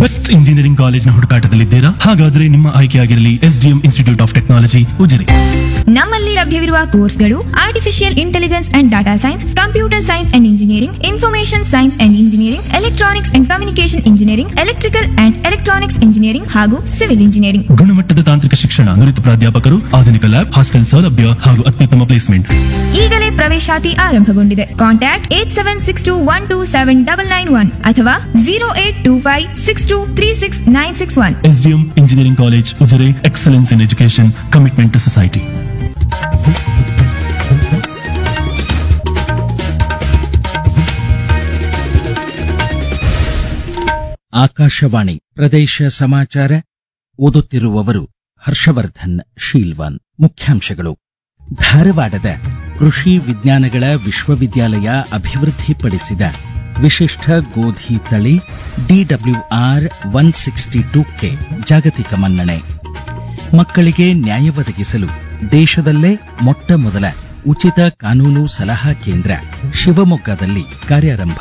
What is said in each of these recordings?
Best engineering ಕಾಲೇಜ್ನ ಹುಡುಕಾಟದಲ್ಲಿದ್ದೀರಾ? ಹಾಗಾದ್ರೆ ನಿಮ್ಮ ಆಯ್ಕೆಯಾಗಿರಲಿ SDM institute of technology, Ujire. ನಮ್ಮಲ್ಲಿ ಲಭ್ಯವಿರುವ ಕೋರ್ಸ್ಗಳು artificial intelligence and data science, computer science and engineering, information science and engineering, electronics and communication engineering, electrical and electronics engineering ಹಾಗೂ civil engineering. ಗುಣಮಟ್ಟದ ತಾಂತ್ರಿಕ ಶಿಕ್ಷಣ, ನುರಿತ ಪ್ರಾಧ್ಯಾಪಕರು, ಆಧುನಿಕ ಲ್ಯಾಬ್, ಹಾಸ್ಟೆಲ್ ಸೌಲಭ್ಯ ಹಾಗೂ ಅತ್ಯುತ್ತಮ ಪ್ಲೇಸ್ಮೆಂಟ್. ಈಗಲೇ ಪ್ರವೇಶಾತಿ ಆರಂಭಗೊಂಡಿದೆ. Contact 8762127991 ಅಥವಾ 08256236961. SDM engineering college, Ujire. Excellence in education, commitment to society. Akashvani, ಪ್ರದೇಶ ಸಮಾಚಾರ, ಓದುತ್ತಿರುವವರು ಹರ್ಷವರ್ಧನ್ ಶೀಲ್ವಾನ್. ಮುಖ್ಯಾಂಶಗಳು. ಧಾರವಾಡದ ಕೃಷಿ ವಿಜ್ಞಾನಗಳ ವಿಶ್ವವಿದ್ಯಾಲಯ ಅಭಿವೃದ್ಧಿಪಡಿಸಿದ ವಿಶಿಷ್ಟ ಗೋಧಿ ತಳಿ ಡಿಡಬ್ಲ್ಯೂಆರ್ 162 ಕೆ ಜಾಗತಿಕ ಮನ್ನಣೆ. ಮಕ್ಕಳಿಗೆ ನ್ಯಾಯ ಒದಗಿಸಲು ದೇಶದಲ್ಲೇ ಮೊಟ್ಟ ಮೊದಲ ಉಚಿತ ಕಾನೂನು ಸಲಹಾ ಕೇಂದ್ರ ಶಿವಮೊಗ್ಗದಲ್ಲಿ ಕಾರ್ಯಾರಂಭ.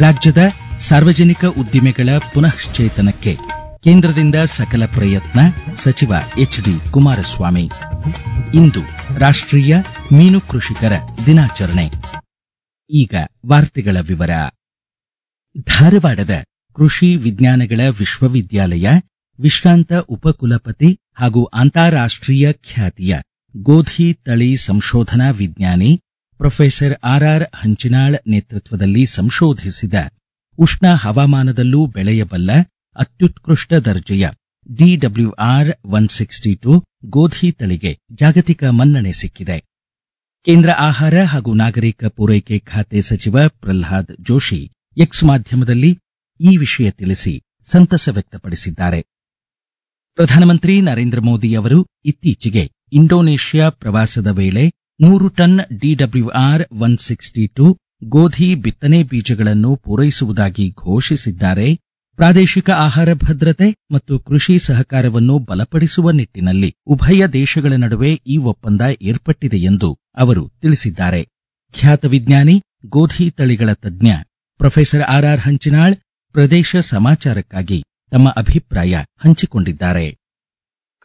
ರಾಜ್ಯದ ಸಾರ್ವಜನಿಕ ಉದ್ದಿಮೆಗಳ ಪುನಶ್ಚೇತನಕ್ಕೆ ಕೇಂದ್ರದಿಂದ ಸಕಲ ಪ್ರಯತ್ನ, ಸಚಿವ ಎಚ್ಡಿ ಕುಮಾರಸ್ವಾಮಿ. ಇಂದು ರಾಷ್ಟ್ರೀಯ ಮೀನು ಕೃಷಿಕರ ದಿನಾಚರಣೆ. ಈಗ ವಾರ್ತೆಗಳ ವಿವರ. ಧಾರವಾಡದ ಕೃಷಿ ವಿಜ್ಞಾನಗಳ ವಿಶ್ವವಿದ್ಯಾಲಯ ವಿಶ್ರಾಂತ ಉಪಕುಲಪತಿ ಹಾಗೂ ಅಂತಾರಾಷ್ಟ್ರೀಯ ಖ್ಯಾತಿಯ ಗೋಧಿ ತಳಿ ಸಂಶೋಧನಾ ವಿಜ್ಞಾನಿ ಪ್ರೊಫೆಸರ್ ಆರ್ಆರ್ ಹಂಚಿನಾಳ್ ನೇತೃತ್ವದಲ್ಲಿ ಸಂಶೋಧಿಸಿದ ಉಷ್ಣ ಹವಾಮಾನದಲ್ಲೂ ಬೆಳೆಯಬಲ್ಲ ಅತ್ಯುತ್ಕೃಷ್ಟ ದರ್ಜೆಯ ಡಿಡಬ್ಲ್ಯೂಆರ್ 162 ಗೋಧಿ ತಳಿಗೆ ಜಾಗತಿಕ ಮನ್ನಣೆ ಸಿಕ್ಕಿದೆ. ಕೇಂದ್ರ ಆಹಾರ ಹಾಗೂ ನಾಗರಿಕ ಪೂರೈಕೆ ಖಾತೆ ಸಚಿವ ಪ್ರಹ್ಲಾದ್ ಜೋಶಿ ಎಕ್ಸ್ ಮಾಧ್ಯಮದಲ್ಲಿ ಈ ವಿಷಯ ತಿಳಿಸಿ ಸಂತಸ ವ್ಯಕ್ತಪಡಿಸಿದ್ದಾರೆ. ಪ್ರಧಾನಮಂತ್ರಿ ನರೇಂದ್ರ ಮೋದಿ ಅವರು ಇತ್ತೀಚೆಗೆ ಇಂಡೋನೇಷ್ಯಾ ಪ್ರವಾಸದ ವೇಳೆ 100 ಟನ್ ಡಿಡಬ್ಲ್ಯೂಆರ್ 162 ಗೋಧಿ ಬಿತ್ತನೆ ಬೀಜಗಳನ್ನು ಪೂರೈಸುವುದಾಗಿ ಘೋಷಿಸಿದ್ದಾರೆ. ಪ್ರಾದೇಶಿಕ ಆಹಾರ ಭದ್ರತೆ ಮತ್ತು ಕೃಷಿ ಸಹಕಾರವನ್ನು ಬಲಪಡಿಸುವ ನಿಟ್ಟಿನಲ್ಲಿ ಉಭಯ ದೇಶಗಳ ನಡುವೆ ಈ ಒಪ್ಪಂದ ಏರ್ಪಟ್ಟಿದೆ ಎಂದು ಅವರು ತಿಳಿಸಿದ್ದಾರೆ. ಖ್ಯಾತ ವಿಜ್ಞಾನಿ, ಗೋಧಿ ತಳಿಗಳ ತಜ್ಞ ಪ್ರೊಫೆಸರ್ ಆರ್ಆರ್ ಹಂಚಿನಾಳ್ ಪ್ರದೇಶ ಸಮಾಚಾರಕ್ಕಾಗಿ ತಮ್ಮ ಅಭಿಪ್ರಾಯ ಹಂಚಿಕೊಂಡಿದ್ದಾರೆ.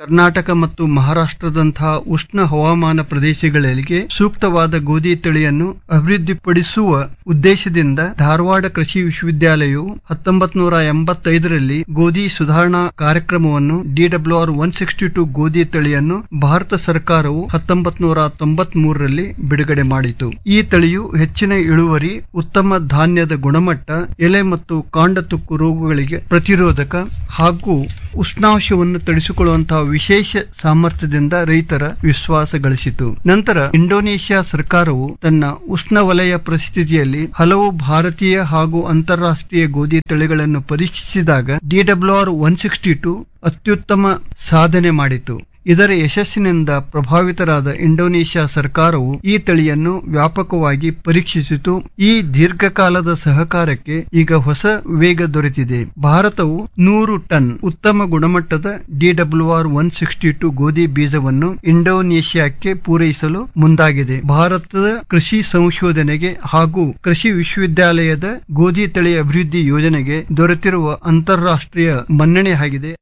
ಕರ್ನಾಟಕ ಮತ್ತು ಮಹಾರಾಷ್ಟ್ರದಂತಹ ಉಷ್ಣ ಹವಾಮಾನ ಪ್ರದೇಶಗಳಿಗೆ ಸೂಕ್ತವಾದ ಗೋಧಿ ತಳಿಯನ್ನು ಅಭಿವೃದ್ಧಿಪಡಿಸುವ ಉದ್ದೇಶದಿಂದ ಧಾರವಾಡ ಕೃಷಿ ವಿಶ್ವವಿದ್ಯಾಲಯವು 1985ರಲ್ಲಿ ಗೋಧಿ ಸುಧಾರಣಾ ಕಾರ್ಯಕ್ರಮವನ್ನು ಡಿಡಬ್ಲ್ಯೂಆರ್ 162 ಗೋಧಿ ತಳಿಯನ್ನು ಭಾರತ ಸರ್ಕಾರವು 1993ರಲ್ಲಿ ಬಿಡುಗಡೆ ಮಾಡಿತು. ಈ ತಳಿಯು ಹೆಚ್ಚಿನ ಇಳುವರಿ, ಉತ್ತಮ ಧಾನ್ಯದ ಗುಣಮಟ್ಟ, ಎಲೆ ಮತ್ತು ಕಾಂಡ ತುಕ್ಕು ರೋಗಗಳಿಗೆ ಪ್ರತಿರೋಧಕ ಹಾಗೂ ಉಷ್ಣಾಂಶವನ್ನು ತಡಿಸಿಕೊಳ್ಳುವಂತಹ ವಿಶೇಷ ಸಾಮರ್ಥ್ಯದಿಂದ ರೈತರ ವಿಶ್ವಾಸ ಗಳಿಸಿತು. ನಂತರ ಇಂಡೋನೇಷ್ಯಾ ಸರ್ಕಾರವು ತನ್ನ ಉಷ್ಣವಲಯ ಪರಿಸ್ಥಿತಿಯಲ್ಲಿ ಹಲವು ಭಾರತೀಯ ಹಾಗೂ ಅಂತಾರಾಷ್ಟ್ರೀಯ ಗೋಧಿ ತಳಿಗಳನ್ನು ಪರೀಕ್ಷಿಸಿದಾಗ ಡಿಡಬ್ಲ್ಯೂಆರ್ 162 ಅತ್ಯುತ್ತಮ ಸಾಧನೆ ಮಾಡಿತು. ಇದರ ಯಶಸ್ಸಿನಿಂದ ಪ್ರಭಾವಿತರಾದ ಇಂಡೋನೇಷ್ಯಾ ಸರ್ಕಾರವು ಈ ತಳಿಯನ್ನು ವ್ಯಾಪಕವಾಗಿ ಪರೀಕ್ಷಿಸಿತು. ಈ ದೀರ್ಘಕಾಲದ ಸಹಕಾರಕ್ಕೆ ಈಗ ಹೊಸ ವೇಗ ದೊರೆತಿದೆ. ಭಾರತವು 100 ಟನ್ ಉತ್ತಮ ಗುಣಮಟ್ಟದ ಡಿಡಬ್ಲ್ಯೂಆರ್ 162 ಗೋಧಿ ಬೀಜವನ್ನು ಇಂಡೋನೇಷ್ಯಾಕ್ಕೆ ಪೂರೈಸಲು ಮುಂದಾಗಿದೆ. ಭಾರತದ ಕೃಷಿ ಸಂಶೋಧನೆಗೆ ಹಾಗೂ ಕೃಷಿ ವಿಶ್ವವಿದ್ಯಾಲಯದ ಗೋಧಿ ತಳಿ ಅಭಿವೃದ್ಧಿ ಯೋಜನೆಗೆ ದೊರೆತಿರುವ ಅಂತಾರಾಷ್ಟ್ರೀಯ ಮನ್ನಣೆಯಾಗಿದೆ.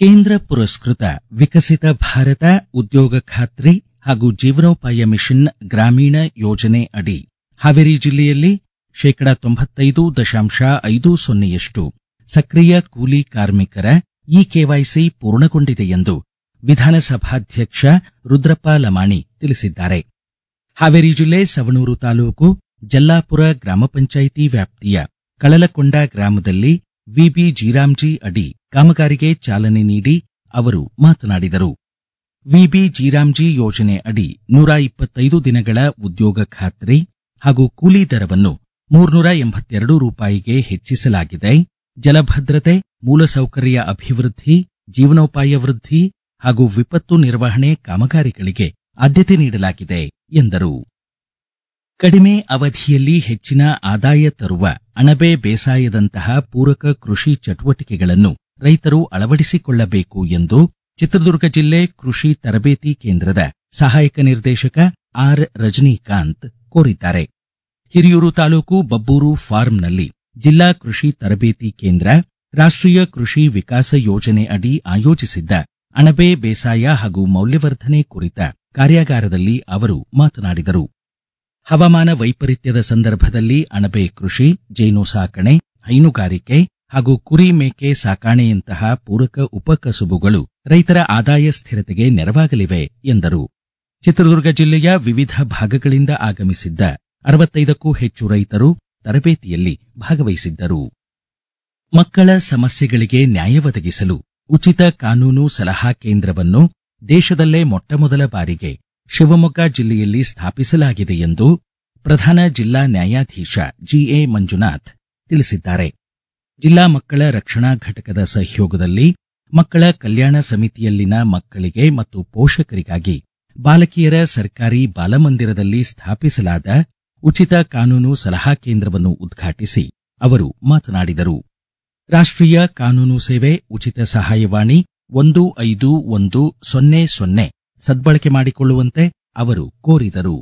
ಕೇಂದ್ರ ಪುರಸ್ಕೃತ ವಿಕಸಿತ ಭಾರತ ಉದ್ಯೋಗ ಖಾತ್ರಿ ಹಾಗೂ ಜೀವನೋಪಾಯ ಮಿಷನ್ ಗ್ರಾಮೀಣ ಯೋಜನೆ ಅಡಿ ಹಾವೇರಿ ಜಿಲ್ಲೆಯಲ್ಲಿ ಶೇಕಡಾ 95.50ಯಷ್ಟು ಸಕ್ರಿಯ ಕೂಲಿ ಕಾರ್ಮಿಕರ ಇ ಕೆವೈಸಿ ಪೂರ್ಣಗೊಂಡಿದೆ ಎಂದು ವಿಧಾನಸಭಾಧ್ಯಕ್ಷ ರುದ್ರಪ್ಪ ಲಮಾಣಿ ತಿಳಿಸಿದ್ದಾರೆ. ಹಾವೇರಿ ಜಿಲ್ಲೆ ಸವಣೂರು ತಾಲೂಕು ಜಲ್ಲಾಪುರ ಗ್ರಾಮ ಪಂಚಾಯಿತಿ ವ್ಯಾಪ್ತಿಯ ಕಳಲಕೊಂಡ ಗ್ರಾಮದಲ್ಲಿ ವಿಬಿ ಜಿರಾಮ್ಜಿ ಅಡಿ ಕಾಮಗಾರಿಗೆ ಚಾಲನೆ ನೀಡಿ ಅವರು ಮಾತನಾಡಿದರು. ವಿಬಿ ಜಿರಾಮ್ಜಿ ಯೋಜನೆ ಅಡಿ 125 ದಿನಗಳ ಉದ್ಯೋಗ ಖಾತ್ರಿ ಹಾಗೂ ಕೂಲಿ ದರವನ್ನು 382 ರೂಪಾಯಿಗೆ ಹೆಚ್ಚಿಸಲಾಗಿದೆ. ಜಲಭದ್ರತೆ, ಮೂಲಸೌಕರ್ಯ ಅಭಿವೃದ್ಧಿ, ಜೀವನೋಪಾಯ ವೃದ್ಧಿ ಹಾಗೂ ವಿಪತ್ತು ನಿರ್ವಹಣೆ ಕಾಮಗಾರಿಗಳಿಗೆ ಆದ್ಯತೆ ನೀಡಲಾಗಿದೆ ಎಂದರು. ಕಡಿಮೆ ಅವಧಿಯಲ್ಲಿ ಹೆಚ್ಚಿನ ಆದಾಯ ತರುವ ಅಣಬೆ ಬೇಸಾಯದಂತಹ ಪೂರಕ ಕೃಷಿ ಚಟುವಟಿಕೆಗಳನ್ನು ರೈತರು ಅಳವಡಿಸಿಕೊಳ್ಳಬೇಕು ಎಂದು ಚಿತ್ರದುರ್ಗ ಜಿಲ್ಲೆ ಕೃಷಿ ತರಬೇತಿ ಕೇಂದ್ರದ ಸಹಾಯಕ ನಿರ್ದೇಶಕ ಆರ್ ರಜನೀಕಾಂತ್ ಕೋರಿದ್ದಾರೆ. ಹಿರಿಯೂರು ತಾಲೂಕು ಬಬ್ಬೂರು ಫಾರ್ಮ್ನಲ್ಲಿ ಜಿಲ್ಲಾ ಕೃಷಿ ತರಬೇತಿ ಕೇಂದ್ರ ರಾಷ್ಟ್ರೀಯ ಕೃಷಿ ವಿಕಾಸ ಯೋಜನೆ ಅಡಿ ಆಯೋಜಿಸಿದ್ದ ಅಣಬೆ ಬೇಸಾಯ ಹಾಗೂ ಮೌಲ್ಯವರ್ಧನೆ ಕುರಿತ ಕಾರ್ಯಾಗಾರದಲ್ಲಿ ಅವರು ಮಾತನಾಡಿದರು. ಹವಾಮಾನ ವೈಪರೀತ್ಯದ ಸಂದರ್ಭದಲ್ಲಿ ಅಣಬೆ ಕೃಷಿ, ಜೇನು ಸಾಕಣೆ, ಹೈನುಗಾರಿಕೆ ಹಾಗೂ ಕುರಿ ಮೇಕೆ ಸಾಕಾಣೆಯಂತಹ ಪೂರಕ ಉಪಕಸುಬುಗಳು ರೈತರ ಆದಾಯ ಸ್ಥಿರತೆಗೆ ನೆರವಾಗಲಿವೆ ಎಂದರು. ಚಿತ್ರದುರ್ಗ ಜಿಲ್ಲೆಯ ವಿವಿಧ ಭಾಗಗಳಿಂದ ಆಗಮಿಸಿದ್ದ 65ಕ್ಕೂ ಹೆಚ್ಚು ರೈತರು ತರಬೇತಿಯಲ್ಲಿ ಭಾಗವಹಿಸಿದ್ದರು. ಮಕ್ಕಳ ಸಮಸ್ಯೆಗಳಿಗೆ ನ್ಯಾಯ ಒದಗಿಸಲು ಉಚಿತ ಕಾನೂನು ಸಲಹಾ ಕೇಂದ್ರವನ್ನು ದೇಶದಲ್ಲೇ ಮೊಟ್ಟಮೊದಲ ಬಾರಿಗೆ ಶಿವಮೊಗ್ಗ ಜಿಲ್ಲೆಯಲ್ಲಿ ಸ್ಥಾಪಿಸಲಾಗಿದೆ ಎಂದು ಪ್ರಧಾನ ಜಿಲ್ಲಾ ನ್ಯಾಯಾಧೀಶ ಜಿಎ ಮಂಜುನಾಥ್ ತಿಳಿಸಿದ್ದಾರೆ. ಜಿಲ್ಲಾ ಮಕ್ಕಳ ರಕ್ಷಣಾ ಘಟಕದ ಸಹಯೋಗದಲ್ಲಿ ಮಕ್ಕಳ ಕಲ್ಯಾಣ ಸಮಿತಿಯಲ್ಲಿನ ಮಕ್ಕಳಿಗೆ ಮತ್ತು ಪೋಷಕರಿಗಾಗಿ ಬಾಲಕಿಯರ ಸರ್ಕಾರಿ ಬಾಲಮಂದಿರದಲ್ಲಿ ಸ್ಥಾಪಿಸಲಾದ ಉಚಿತ ಕಾನೂನು ಸಲಹಾ ಕೇಂದ್ರವನ್ನು ಉದ್ಘಾಟಿಸಿ ಅವರು ಮಾತನಾಡಿದರು. ರಾಷ್ಟ್ರೀಯ ಕಾನೂನು ಸೇವೆ ಉಚಿತ ಸಹಾಯವಾಣಿ 15100 ಸದ್ಬಳಕೆ ಮಾಡಿಕೊಳ್ಳುವಂತೆ ಅವರು ಕೋರಿದರು.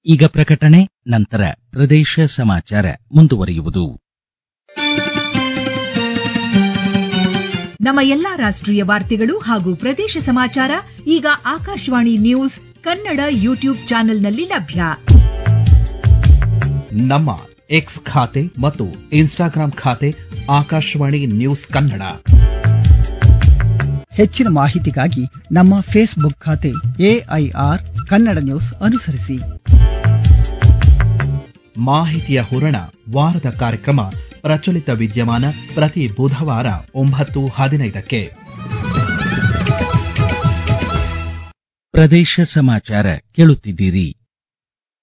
ಈಗ ಪ್ರಕಟಣೆ, ನಂತರ ಪ್ರದೇಶ ಸಮಾಚಾರ ಮುಂದುವರಿಯುವುದು. ನಮ್ಮ ಎಲ್ಲಾ ರಾಷ್ಟ್ರೀಯ ವಾರ್ತೆಗಳು ಹಾಗೂ ಪ್ರದೇಶ ಸಮಾಚಾರ ಈಗ ಆಕಾಶವಾಣಿ ನ್ಯೂಸ್ ಕನ್ನಡ ಯೂಟ್ಯೂಬ್ ಚಾನೆಲ್ನಲ್ಲಿ ಲಭ್ಯ. ನಮ್ಮ ಎಕ್ಸ್ ಖಾತೆ ಮತ್ತು ಇನ್ಸ್ಟಾಗ್ರಾಂ ಖಾತೆ ಆಕಾಶವಾಣಿ ನ್ಯೂಸ್ ಕನ್ನಡ. ಹೆಚ್ಚಿನ ಮಾಹಿತಿಗಾಗಿ ನಮ್ಮ ಫೇಸ್ಬುಕ್ ಖಾತೆ ಎಐಆರ್ ಕನ್ನಡ ನ್ಯೂಸ್ ಅನುಸರಿಸಿ. ಮಾಹಿತಿಯ ಹೂರಣ ವಾರದ ಕಾರ್ಯಕ್ರಮ ಪ್ರಚಲಿತ ವಿದ್ಯಮಾನ ಪ್ರತಿ ಬುಧವಾರ 9:15ಕ್ಕೆ. ಪ್ರದೇಶ ಸಮಾಚಾರ ಕೇಳುತ್ತಿದ್ದೀರಿ.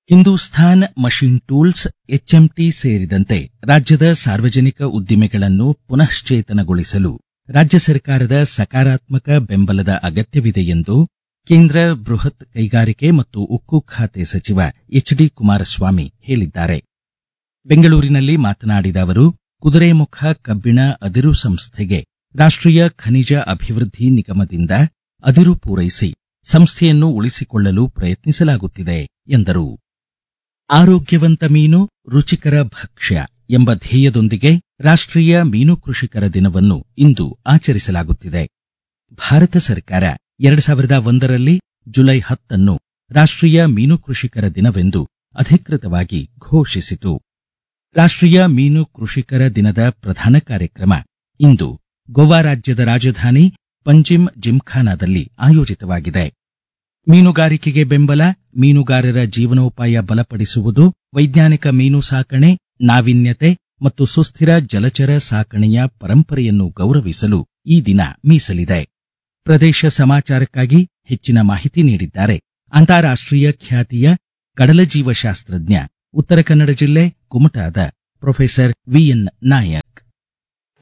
ಹಿಂದೂಸ್ಥಾನ್ machine tools, HMT ಸೇರಿದಂತೆ ರಾಜ್ಯದ ಸಾರ್ವಜನಿಕ ಉದ್ದಿಮೆಗಳನ್ನು ಪುನಶ್ಚೇತನಗೊಳಿಸಲು ರಾಜ್ಯ ಸರ್ಕಾರದ ಸಕಾರಾತ್ಮಕ ಬೆಂಬಲದ ಅಗತ್ಯವಿದೆ ಎಂದು ಕೇಂದ್ರ ಬೃಹತ್ ಕೈಗಾರಿಕೆ ಮತ್ತು ಉಕ್ಕು ಖಾತೆ ಸಚಿವ ಎಚ್ಡಿ ಕುಮಾರಸ್ವಾಮಿ ಹೇಳಿದ್ದಾರೆ. ಬೆಂಗಳೂರಿನಲ್ಲಿ ಮಾತನಾಡಿದ ಅವರು, ಕುದುರೆಮುಖ ಕಬ್ಬಿಣ ಅದಿರು ಸಂಸ್ಥೆಗೆ ರಾಷ್ಟ್ರೀಯ ಖನಿಜ ಅಭಿವೃದ್ಧಿ ನಿಗಮದಿಂದ ಅದಿರು ಪೂರೈಸಿ ಸಂಸ್ಥೆಯನ್ನು ಉಳಿಸಿಕೊಳ್ಳಲು ಪ್ರಯತ್ನಿಸಲಾಗುತ್ತಿದೆ ಎಂದರು. ಆರೋಗ್ಯವಂತ ಮೀನು, ರುಚಿಕರ ಭಕ್ಷ್ಯ ಎಂಬ ಧ್ಯೇಯದೊಂದಿಗೆ ರಾಷ್ಟ್ರೀಯ ಮೀನು ಕೃಷಿಕರ ದಿನವನ್ನು ಇಂದು ಆಚರಿಸಲಾಗುತ್ತಿದೆ. ಭಾರತ ಸರ್ಕಾರ 2001ರಲ್ಲಿ ಜುಲೈ 10ಅನ್ನು ರಾಷ್ಟ್ರೀಯ ಮೀನು ಕೃಷಿಕರ ದಿನವೆಂದು ಅಧಿಕೃತವಾಗಿ ಘೋಷಿಸಿತು. ರಾಷ್ಟ್ರೀಯ ಮೀನು ಕೃಷಿಕರ ದಿನದ ಪ್ರಧಾನ ಕಾರ್ಯಕ್ರಮ ಇಂದು ಗೋವಾ ರಾಜ್ಯದ ರಾಜಧಾನಿ ಪಂಜಿಮ್ ಜಿಮ್ಖಾನಾದಲ್ಲಿ ಆಯೋಜಿತವಾಗಿದೆ. ಮೀನುಗಾರಿಕೆಗೆ ಬೆಂಬಲ, ಮೀನುಗಾರರ ಜೀವನೋಪಾಯ ಬಲಪಡಿಸುವುದು, ವೈಜ್ಞಾನಿಕ ಮೀನು ಸಾಕಣೆ, ನಾವೀನ್ಯತೆ ಮತ್ತು ಸುಸ್ಥಿರ ಜಲಚರ ಸಾಕಣೆಯ ಪರಂಪರೆಯನ್ನು ಗೌರವಿಸಲು ಈ ದಿನ ಮೀಸಲಿದೆ. ಪ್ರದೇಶ ಸಮಾಚಾರಕ್ಕಾಗಿ ಹೆಚ್ಚಿನ ಮಾಹಿತಿ ನೀಡಿದ್ದಾರೆ ಅಂತಾರಾಷ್ಟ್ರೀಯ ಖ್ಯಾತಿಯ ಕಡಲಜೀವಶಾಸ್ತ್ರಜ್ಞ, ಉತ್ತರ ಕನ್ನಡ ಜಿಲ್ಲೆ ಕುಮಟಾದ professor VN Nayak.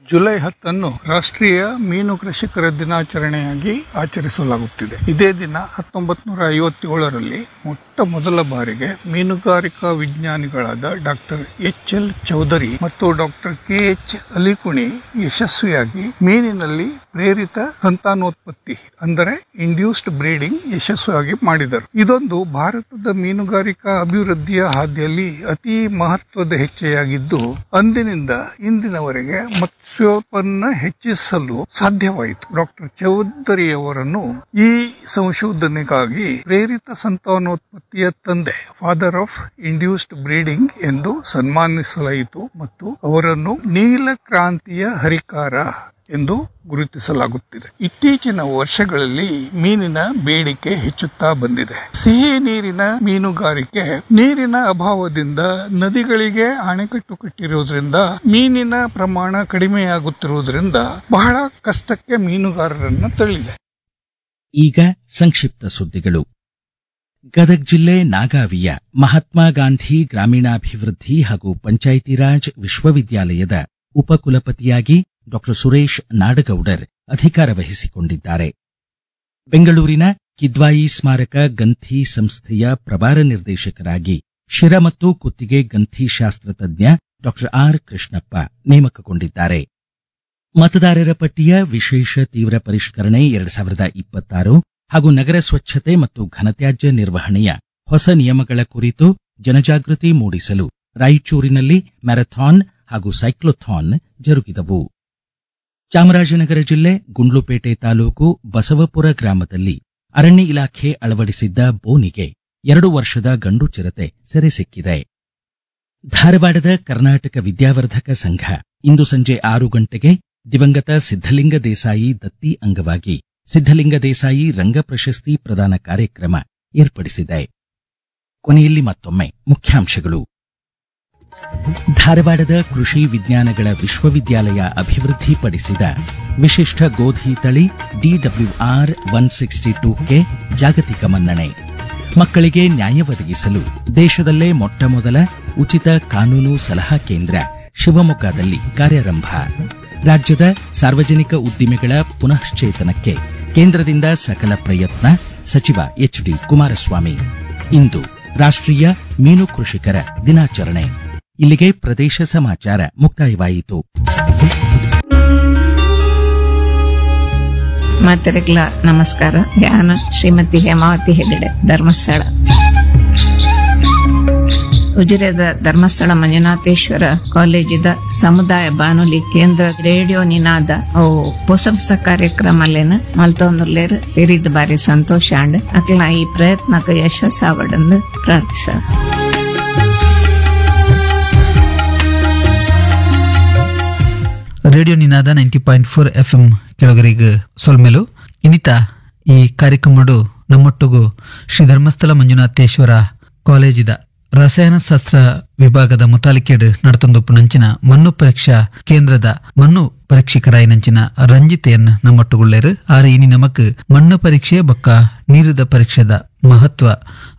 July 10 ರಾಷ್ಟ್ರೀಯ ಮೀನು ಕೃಷಿಕರ ದಿನಾಚರಣೆಯಾಗಿ ಆಚರಿಸಲಾಗುತ್ತಿದೆ. ಇದೇ ದಿನ 1957ರಲ್ಲಿ ಮೊಟ್ಟ ಮೊದಲ ಬಾರಿಗೆ ಮೀನುಗಾರಿಕಾ ವಿಜ್ಞಾನಿಗಳಾದ doctor H L Chaudhary ಮತ್ತು doctor K H Alikunhi ಯಶಸ್ವಿಯಾಗಿ ಮೀನಿನಲ್ಲಿ ಪ್ರೇರಿತ ಸಂತಾನೋತ್ಪತ್ತಿ ಅಂದರೆ ಇಂಡ್ಯೂಸ್ಡ್ ಬ್ರೀಡಿಂಗ್ ಯಶಸ್ವಿಯಾಗಿ ಮಾಡಿದರು. ಇದೊಂದು ಭಾರತದ ಮೀನುಗಾರಿಕಾ ಅಭಿವೃದ್ಧಿಯ ಹಾದಿಯಲ್ಲಿ ಅತಿ ಮಹತ್ವದ ಹೆಜ್ಜೆಯಾಗಿದ್ದು, ಅಂದಿನಿಂದ ಇಂದಿನವರೆಗೆ ಮತ್ಸ್ಯೋತ್ಪನ್ನ ಹೆಚ್ಚಿಸಲು ಸಾಧ್ಯವಾಯಿತು. ಡಾಕ್ಟರ್ ಚೌಧರಿಯವರನ್ನು ಈ ಸಂಶೋಧನೆಗಾಗಿ ಪ್ರೇರಿತ ಸಂತಾನೋತ್ಪತ್ತಿಯ ತಂದೆ, father of induced breeding ಎಂದು ಸನ್ಮಾನಿಸಲಾಯಿತು ಮತ್ತು ಅವರನ್ನು ನೀಲ ಕ್ರಾಂತಿಯ ಹರಿಕಾರ ಎಂದು ಗುರುತಿಸಲಾಗುತ್ತಿದೆ. ಇತ್ತೀಚಿನ ವರ್ಷಗಳಲ್ಲಿ ಮೀನಿನ ಬೇಡಿಕೆ ಹೆಚ್ಚುತ್ತಾ ಬಂದಿದೆ. ಸಿಹಿ ನೀರಿನ ಮೀನುಗಾರಿಕೆ ನೀರಿನ ಅಭಾವದಿಂದ ನದಿಗಳಿಗೆ ಅಣೆಕಟ್ಟು ಕಟ್ಟಿರುವುದರಿಂದ ಮೀನಿನ ಪ್ರಮಾಣ ಕಡಿಮೆಯಾಗುತ್ತಿರುವುದರಿಂದ ಬಹಳ ಕಷ್ಟಕ್ಕೆ ಮೀನುಗಾರರನ್ನು ತಳ್ಳಿದೆ. ಈಗ ಸಂಕ್ಷಿಪ್ತ ಸುದ್ದಿಗಳು. ಗದಗ ಜಿಲ್ಲೆ ನಾಗಾವಿಯ ಮಹಾತ್ಮ ಗಾಂಧಿ ಗ್ರಾಮೀಣಾಭಿವೃದ್ಧಿ ಹಾಗೂ ಪಂಚಾಯಿತಿ ರಾಜ್ ವಿಶ್ವವಿದ್ಯಾಲಯದ ಉಪಕುಲಪತಿಯಾಗಿ ಡಾಕ್ಟರ್ ಸುರೇಶ್ ನಾಡಗೌಡರ್ ಅಧಿಕಾರ ವಹಿಸಿಕೊಂಡಿದ್ದಾರೆ. ಬೆಂಗಳೂರಿನ ಕಿದ್ವಾಯಿ ಸ್ಮಾರಕ ಗಂಥಿ ಸಂಸ್ಥೆಯ ಪ್ರಭಾರ ನಿರ್ದೇಶಕರಾಗಿ ಶಿರ ಮತ್ತು ಕುತ್ತಿಗೆ ಗಂಥಿ ಶಾಸ್ತ್ರ ತಜ್ಞ ಡಾಕ್ಟರ್ ಆರ್ ಕೃಷ್ಣಪ್ಪ ನೇಮಕಗೊಂಡಿದ್ದಾರೆ. ಮತದಾರರ ಪಟ್ಟಿಯ ವಿಶೇಷ ತೀವ್ರ ಪರಿಷ್ಕರಣೆ 2026 ಹಾಗೂ ನಗರ ಸ್ವಚ್ಛತೆ ಮತ್ತು ಘನತ್ಯಾಜ್ಯ ನಿರ್ವಹಣೆಯ ಹೊಸ ನಿಯಮಗಳ ಕುರಿತು ಜನಜಾಗೃತಿ ಮೂಡಿಸಲು ರಾಯಚೂರಿನಲ್ಲಿ ಮ್ಯಾರಥಾನ್ ಹಾಗೂ ಸೈಕ್ಲೋಥಾನ್ ಜರುಗಿದವು. Chamarajanagar ಜಿಲ್ಲೆ ಗುಂಡ್ಲುಪೇಟೆ ತಾಲೂಕು ಬಸವಪುರ ಗ್ರಾಮದಲ್ಲಿ ಅರಣ್ಯ ಇಲಾಖೆ ಅಳವಡಿಸಿದ್ದ ಬೋನಿಗೆ 2 ವರ್ಷದ ಗಂಡು ಚಿರತೆ ಸೆರೆ ಸಿಕ್ಕಿದೆ. ಧಾರವಾಡದ ಕರ್ನಾಟಕ ವಿದ್ಯಾವರ್ಧಕ ಸಂಘ ಇಂದು ಸಂಜೆ 6 ಗಂಟೆಗೆ ದಿವಂಗತ ಸಿದ್ಧಲಿಂಗ ದೇಸಾಯಿ ದತ್ತಿ ಅಂಗವಾಗಿ ಸಿದ್ಧಲಿಂಗ ದೇಸಾಯಿ ರಂಗ ಪ್ರಶಸ್ತಿ ಪ್ರದಾನ ಕಾರ್ಯಕ್ರಮ ಏರ್ಪಡಿಸಿದೆ. ಕೊನೆಯಲ್ಲಿ ಮತ್ತೊಮ್ಮೆ ಮುಖ್ಯಾಂಶಗಳು. ಧಾರವಾಡದ ಕೃಷಿ ವಿಜ್ಞಾನಗಳ ವಿಶ್ವವಿದ್ಯಾಲಯ ಅಭಿವೃದ್ಧಿಪಡಿಸಿದ ವಿಶಿಷ್ಟ ಗೋಧಿ ತಳಿ ಡಿಡಬ್ಲ್ಯೂಆರ್ 162ಕೆ ಜಾಗತಿಕ ಮನ್ನಣೆ. ಮಕ್ಕಳಿಗೆ ನ್ಯಾಯ ಒದಗಿಸಲು ದೇಶದಲ್ಲೇ ಮೊಟ್ಟಮೊದಲ ಉಚಿತ ಕಾನೂನು ಸಲಹಾ ಕೇಂದ್ರ ಶಿವಮೊಗ್ಗದಲ್ಲಿ ಕಾರ್ಯಾರಂಭ. ರಾಜ್ಯದ ಸಾರ್ವಜನಿಕ ಉದ್ದಿಮೆಗಳ ಪುನಶ್ಚೇತನಕ್ಕೆ ಕೇಂದ್ರದಿಂದ ಸಕಲ ಪ್ರಯತ್ನ, ಸಚಿವ ಎಚ್ಡಿ ಕುಮಾರಸ್ವಾಮಿ. ಇಂದು ರಾಷ್ಟ್ರೀಯ ಮೀನು ಕೃಷಿಕರ ದಿನಾಚರಣೆ. ಇಲ್ಲಿಗೆ ಪ್ರದೇಶ ಸಮಾಚಾರ ಮುಕ್ತಾಯವಾಯಿತು. ಮಾತರಿಗಳ ನಮಸ್ಕಾರ. ನಾನು ಶ್ರೀಮತಿ ಹೇಮಾವತಿ ಹೆಗಡೆ, ಧರ್ಮಸ್ಥಳ. ಉಜಿರೆದ ಧರ್ಮಸ್ಥಳ ಮಂಜುನಾಥೇಶ್ವರ ಕಾಲೇಜಿದ ಸಮುದಾಯ ಬಾನುಲಿ ಕೇಂದ್ರ ರೇಡಿಯೋ ನಿನಾದ ಅವು ಹೊಸ ಹೊಸ ಕಾರ್ಯಕ್ರಮಲೇನ ಮಲ್ತೊಂದುರ್ಲೇರ್ ತೆರಿದ ಬಾರಿ ಸಂತೋಷ ಅಂಡ್ ಅಕ್ಲ ಈ ಪ್ರಯತ್ನಕ್ಕೆ ಯಶಸ್ಸಾವಡನ್ನು ಪ್ರಾರ್ಥಿಸ. Radio Ninada 90.4 FM ಕೆಳಗರಿಗೆ ಸೊಲ್ಮೆಲು. ಇನ್ನಿತ ಈ ಕಾರ್ಯಕ್ರಮಡು ನಮ್ಮೊಟ್ಟಿಗೂ ಶ್ರೀ ಧರ್ಮಸ್ಥಳ ಮಂಜುನಾಥೇಶ್ವರ ಕಾಲೇಜಿದ ರಸಾಯನಶಾಸ್ತ್ರ ವಿಭಾಗದ ಮುತಾಲಿಕೆಡ್ ನಡತೊಂದೊಪ್ಪು ನಂಚಿನ ಮಣ್ಣು ಪರೀಕ್ಷಾ ಕೇಂದ್ರದ ಮಣ್ಣು ಪರೀಕ್ಷಕರಾಯ ನಂಚಿನ ರಂಜಿತೆಯನ್ನು ನಮ್ಮೊಟ್ಟುಗುಳ್ಳೇರು. ಆರು ಇನಿ ನಮಕ್ ಮಣ್ಣು ಪರೀಕ್ಷೆ ಬೊಕ್ಕ ನೀರಿದ ಪರೀಕ್ಷೆದ ಮಹತ್ವ,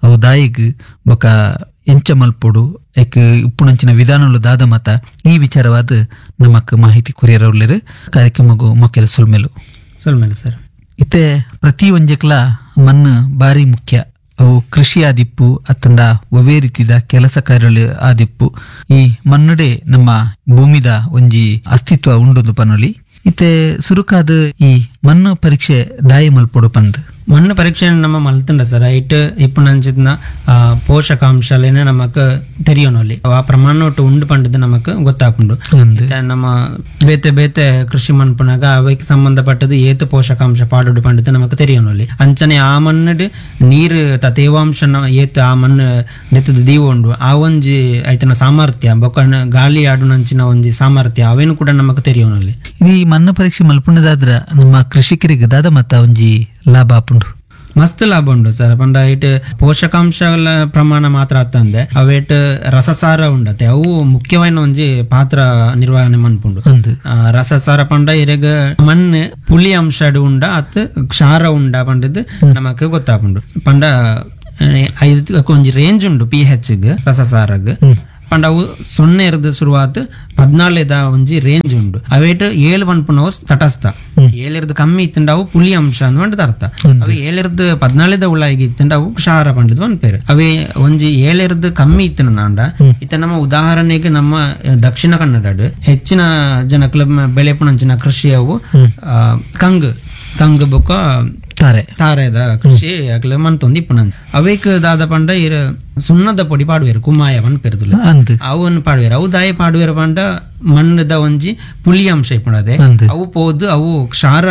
ಅವು ದಾಯಿಗ್ ಬೊಕ್ಕ ಎಂಚ ಮಲ್ಪೊಡು, ಐಕ್ ಉಪ್ಪುನಂಚಿನ ವಿಧಾನಲು ದಾದ ಮತ ಈ ವಿಚಾರವಾದ ನಮಕ್ ಮಾಹಿತಿ ಕೊರಿಯರವುಳ್ಳೇರು. ಕಾರ್ಯಕ್ರಮಗೂ ಮೊಕ್ಕೆದ ಸುಲ್ಮೇಲು. ಸುಲ್ಮೇಲು ಸರ್. ಇತ್ತೆ ಪ್ರತಿ ಒಂಜೆಕ್ಲ ಮಣ್ಣು ಬಾರಿ ಮುಖ್ಯ. ಅವು ಕೃಷಿ ಆದಿಪ್ಪು ಅತ್ತಂಡ ಒವೇ ರೀತಿದ ಕೆಲಸ ಕಾರ್ಯಗಳು ಆದಿಪ್ಪು ಈ ಮಣ್ಣುಡೆ ನಮ್ಮ ಭೂಮಿದ ಒಂಜಿ ಅಸ್ತಿತ್ವ ಉಂಡೊಂದು ಪನೊಲಿ. ಇತ್ತೆ ಸುರುಕಾದ ಈ ಮಣ್ಣು ಪರೀಕ್ಷೆ ದಾಯಿ ಮಲ್ಪೊಡು ಪಂದ್. ಮಣ್ಣು ಪರೀಕ್ಷೆ ನಮ್ಮ ಮಲ್ತಂಡ ಸರ್ ಐಟ್ ಇಪ್ಪುನಂಚಿನ ಪೋಷಕಾಂಶಲೇನೆ ನಮಕ್ ತೆರಿಯೋನಲ್ಲಿ ಆ ಪ್ರಮಾಣ ಉಂಡು ಪಂಡದು ನಮಕ್ ಗೊತ್ತಾಪುಂಡು. ನಮ್ಮ ಬೇತೆ ಬೇತೆ ಕೃಷಿ ಮನ್ಪುನಾಗ ಅವಕ್ಕೆ ಸಂಬಂಧಪಟ್ಟದ್ದು ಏತು ಪೋಷಕಾಂಶ ಪಾಡುಡು ಪಂಡದು ನಮಕ್ ತೆರಿಯೋನಲ್ಲಿ. ಅಂಚನೆ ಆ ಮಣ್ಣು ನೀರು ತೇವಾಂಶ ಏತು ಆ ಮಣ್ಣು ದೆತ್ತದ ದೀವ ಉಂಡು ಆ ಒಂಜಿ ಐತನ ಸಾಮರ್ಥ್ಯ ಬೊಕ್ಕ ಗಾಳಿ ಆಡುನಂಚಿನ ಒಂಜಿ ಸಾಮರ್ಥ್ಯ ಅವೇನು ಕೂಡ ನಮಕ್ ತೆರಿಯೋನಲ್ಲಿ. ಈ ಮಣ್ಣು ಪರೀಕ್ಷೆ ಮಲ್ಪುಣದಾದ್ರ ನಮ್ಮ ಕೃಷಿಕರಿಗೆ ದಾದ ಮತ್ತ ಒಂಜಿ ಲಾಭ ಆಪುಂಡು. ಮಸ್ತ್ ಲಾಭ ಉಂಡು ಸರ್. ಪಂಡ ಇಟ್ ಪೋಷಕಾಂಶಗಳ ಪ್ರಮಾಣ ಮಾತ್ರ ಅತ್ತಂದೆ ಅವೇಟ್ ರಸಸಾರ ಉಂಡತೆ ಅವು ಮುಖ್ಯವಾದ ಒಂಜಿ ಪಾತ್ರ ನಿರ್ವಹಣೆ ಮನ್ಪುಂಡು. ರಸಸಾರ ಪಂಡ ಇರೆಗ ಮಣ್ಣು ಪುಳಿ ಅಂಶ ಉಂಡ ಅತ್ ಕ್ಷಾರ ಉಂಡ ಪಂಡದ್ ನಮಕ್ ಗೊತ್ತಾಪುಂಡು. ಪಂಡ ಒಂಜಿ ರೇಂಜ್ ಉಂಡು ಪಿ ಹೆಚ್ ರಸಸಾರಗ್. ಪಂಡ ಅವು 0 ಇರ್ದು ಶುರುವಾತ್ 14 ಒಂಜಿ ರೇಂಜ್ ಉಂಡು. ಅವೇಟ್ 7 ಪನ್ಪುನವು ತಟಸ್ಥ, 7 ಇರ್ದು ಕಮ್ಮಿ ಇತ್ತಂಡ ಅವು ಪುಳಿ ಅಂಶ ಅಂದ್ ಅರ್ಥ. ಅವು 7 ಇರ್ದು 14 ಉಳ್ಳಾಗಿ ಇತ್ತಂಡ ಅವು ಕ್ಷಾರ ಪಂಡದ್ ಪನ್ಪೇರು. ಅವೇ ಒಂಜಿ 7 ಇರ್ದು ಕಮ್ಮಿ ಇತ್ತಂಡ ಇತ್ತ ನಮ್ಮ ಉದಾಹರಣೆಗೆ ನಮ್ಮ ದಕ್ಷಿಣ ಕನ್ನಡ ಹೆಚ್ಚಿನ ಜನಕ್ಲ ಬೆಳೆಪುನಂಚಿನ ಕೃಷಿ ಅವು ಕಂಗ್ ಕಂಗ್ ಬೊಕ್ಕ ತಾರೆದ ಕೃಷಿ ಅಕ್ಲೆ ಮನ್ತೊಂದು ಇಪ್ಪುನಂದ್. ಅವೇಕ್ ದಾದ ಪಂಡ ಇರ ಸುಣ್ಣದ ಪೊಡಿ ಪಾಡುವೇರು ಕುಮಾಯ ಪನ್ಪೆರ್ದುಲ್ಲ ಅವನ್ ಪಾಡುವೇರು. ಅವು ದಾಯ ಪಾಡುವೇರು ಪಂಡ ಮಣ್ಣದ ಒಂಜಿ ಪುಳಿ ಅಂಶ ಇಪ್ಪುಂಡದೆ ಅವು ಪೋದು ಅವು ಕ್ಷಾರ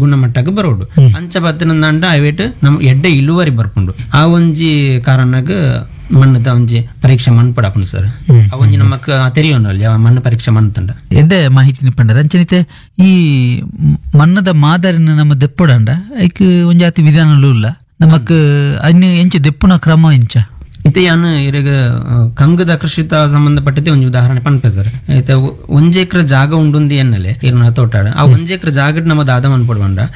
ಗುಣಮಟ್ಟಕ್ಕೆ ಬರೋಡು. ಅಂಚ ಬತ್ತಿನಂದ ಅವೇಟ್ ನಮ್ ಎಡ್ಡೆ ಇಳುವರಿ ಬರ್ಪುಂಡು. ಆ ಒಂಜಿ ಕಾರಣಗ್ ಮಣ್ಣದ ಒಂಜಿ ಪರೀಕ್ಷೆ ಮಣ್ಣು ಪಡಪುಂಡು ಸರ್. ಆ ಒಂಜಿ ನಮಕ್ ತೆರಿಯೋನಲ್ಲಿ ಮಣ್ಣು ಪರೀಕ್ಷೆ ಮಣ್ಣು ತಂಡ ಎಡ್ಡೆ ಮಾಹಿತಿ ಪಂಡರ. ಅಂಚನಿತೆ ಈ ಮಣ್ಣದ ಮಾದರಿನ ನಮ್ಮ ದೆಪ್ಪುಡಂಡ ಐಕ್ ಒಂಜಾತಿ ವಿಧಾನಲು ಇಲ್ಲ ನಮಕ್ ಅನ್ಯ ಎಂಚ ದೆಪ್ಪುನ ಕ್ರಮ ಎಂಚ ಇತ್ತೆ ಯಾನು ಇರಗ ಕಂಗದ ಕೃಷಿತ ಸಂಬಂಧಪಟ್ಟದೆ ಒಂಜಿ ಉದಾಹರಣೆ ಪನ್ಪೆ ಸರ್. ಇತ್ತೆ ಒಂಜಿ ಎಕರೆ ಜಾಗ ಉಂಡುಂದಿ ಎನ್ನಲೆ ಇರ್ನ ತೋಟಾಡ ಆ ಒಂಜಿ ಎಕರೆ ಜಾಗಡ್ ನಮ್ಮ ದಾದ ಮನ್ಪೊಡು